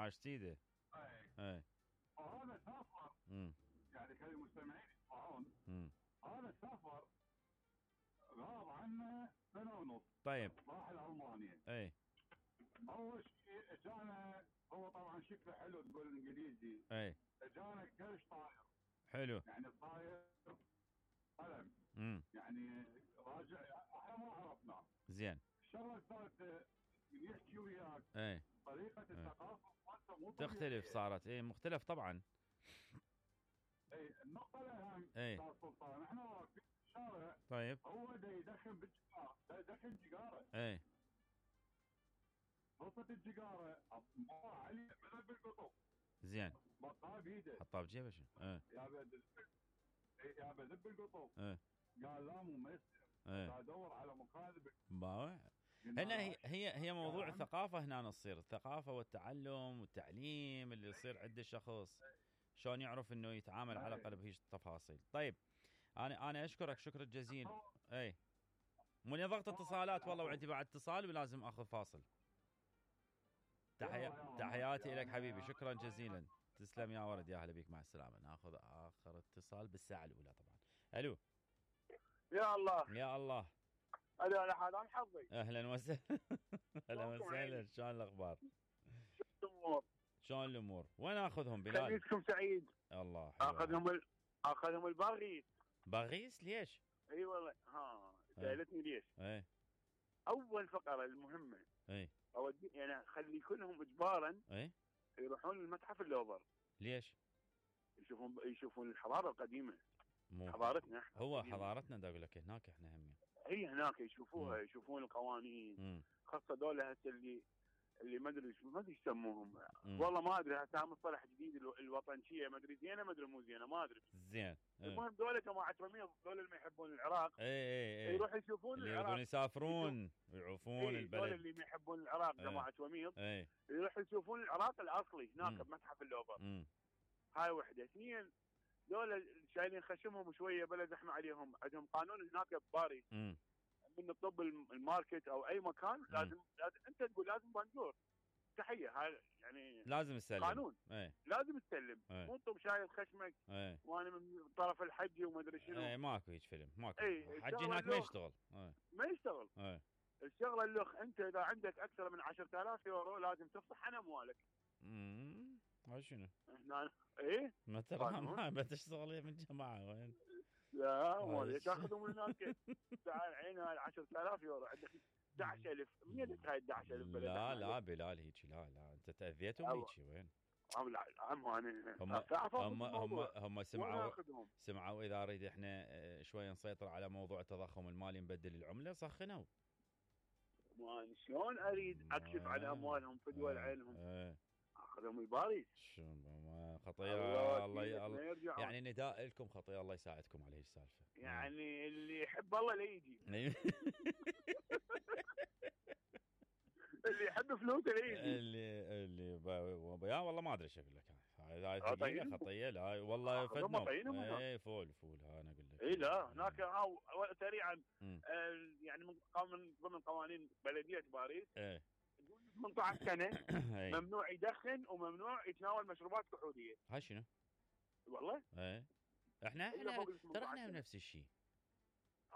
عاش سيده. اي وهذا سافر يعني خلي المستمعين يسمعون. هذا سافر غاب عنه سنه ونص. طيب راح لألمانيا. اي اول شيء اجانا هو طبعا شكله حلو تقول الانجليزي. اي اجانا كرش طاير. حلو. يعني طاير قلم. يعني راجع احنا ما عرفناه. زين. الشغله صارت يحكي وياك. اي طريقه الثقافه مو تختلف صارت. اي مختلف طبعا. اي النقطه الاهم استاذ سلطان احنا واقفين في الشارع. طيب هو دا يدخن بالجيجاره. دا يدخن جيجاره. اي خلصت الجيجاره مر علي من بالقطب. زين. بطها بيده. حطها بجيبه شنو؟ يا بدب القطب. قال لا مو ميسر. ادور على مخالب. هنا هي موضوع الثقافه. هنا تصير الثقافه والتعلم والتعليم اللي يصير عند الشخص شلون يعرف انه يتعامل على الاقل بهيج التفاصيل. طيب انا اشكرك شكر الجزيل. اي مني ضغط اتصالات والله وعندي بعد اتصال ولازم اخذ فاصل. تحياتي لك حبيبي شكرا جزيلا. تسلم يا ولد يا هلا بيك مع السلامه. ناخذ اخر اتصال بالساعه الاولى طبعا. الو يا الله يا الله. انا حالان حظي. اهلا وسهلا. اهلا وسهلا. شلون الاخبار؟ شلون الامور؟ وين اخذهم بلال؟ خميسكم سعيد. الله اخذهم الباغيس. باغيس ليش؟ اي والله سالتني ليش؟ اي اول فقره المهمه اي اودي يعني اخلي كلهم اجبارا اي يروحون للمتحف اللوفر. ليش؟ يشوفون الحضاره القديمه. مو حضارتنا هو حضارتنا دا اقول لك هناك احنا هم هي هناك يشوفوها. يشوفون القوانين. خاصه دول هسه اللي ما ادري يسموهم. والله ما ادري هسه مصطلح جديد الوطنيه ما ادري زينه ما ادري مو زينه ما ادري. زين. المهم دول جماعه رميض دول اللي ما يحبون العراق. اي يروحوا يشوفون اللي العراق. يبون يسافرون ويعوفون البلد. دول اللي ما يحبون العراق جماعه رميض يروحوا يشوفون العراق الاصلي هناك بمتحف اللوفر. هاي وحده. اثنين دول شايلين خشمهم شويه بلا زحمه عليهم. عندهم قانون هناك بباريس من الطب الماركت او اي مكان لازم انت تقول لازم بنجور تحيه. هاي يعني لازم تسلم قانون. لازم تسلم. مو طب شايل خشمك وانا من طرف الحجي وما ادري شنو. ماكو هيك فيلم ماكو. الحجي هناك ما يشتغل. ما يشتغل. الشغله اللخ انت اذا عندك اكثر من 10,000 يورو لازم تفصح عن اموالك. هاي شنو؟ هنا ايه ما ترى ما تشتغل من جماعه وين؟ لا مو تاخذهم من هناك. تعال عين هاي 10,000 يورو عندك 11,000. منين هاي 11,000 بلد؟ لا بلال هيك لا انت تاذيتهم هيك وين؟ عم انا هم سمعوا اذا اريد احنا شوي نسيطر على موضوع التضخم المالي نبدل العمله سخنوا. ما شلون اريد اكشف على اموالهم في دول عينهم. اخذهم الباريس. خطيره الله يعني نداء لكم خطيره الله يساعدكم على هي السالفه. يعني اللي يحب الله لا يجي. اللي يحب فلوسه لا يجي. اللي يا والله ما ادري ايش اقول لك. هاي ثقيله خطيه. لا والله فتنه. اي فول ها انا اقول لك. اي لا هناك سريعا يعني ضمن قوانين بلديه باريس 18 سنه ممنوع يدخن وممنوع يتناول مشروبات كحوليه. هاي شنو؟ والله احنا ترى احنا نفس الشيء.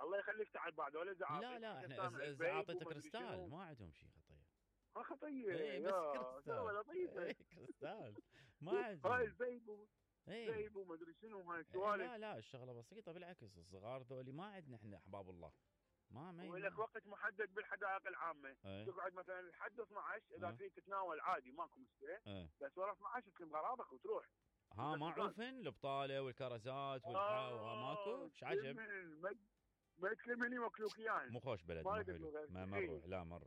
الله يخليك تعال بعد ولا زعاط. لا احنا زعاطة كريستال ما عندهم شيء خطيه. خطيه بس كريستال. كريستال ما عندهم. هاي الفيب وما ادري شنو هاي السوالف. لا الشغله بسيطه بالعكس. الصغار ذولي ما عندنا احنا احباب الله. ما ولك وقت محدد بالحدائق العامه. تقعد مثلا لحد 12 اذا فيك تتناول عادي ماكو مشكله. بس ورا 12 تكلم غراضك وتروح. معروفن البطاله والكرزات ماكو ايش عجب. ما يتكلمني مكلوكيان. مو خوش بلد مو حلو. ما نروح لا ما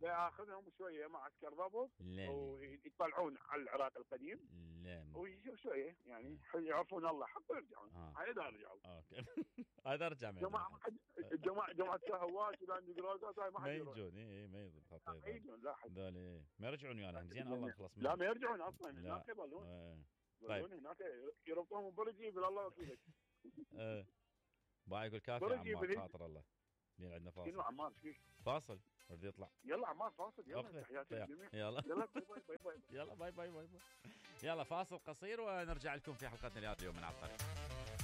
ياخذهم شويه مع عسكر ضبط ويطلعون على العراق القديم. لا ويشوف شويه يعني يعرفون الله حق يرجعون. هاي اذا رجعوا. اوكي هذا رجع جماعه شهوات ولاند جرازات هاي ما يجون. ما يجون خطير. ما يجون لا حد. ما يرجعون ويانا زين الله نخلص منهم. لا ما يرجعون اصلا هناك يظلون. طيب هناك يربطهم برجي بالله وكيلك. باي يقول كافي عمار خاطر الله. لين عندنا فاصل. شنو عمار فيك؟ فاصل. بدي يطلع. يلا عمار فاصل، يلا تحياتي للجميع. يلا يلا باي باي باي. يلا باي باي باي باي. يلا فاصل قصير ونرجع لكم في حلقتنا اليوم من على الطريق.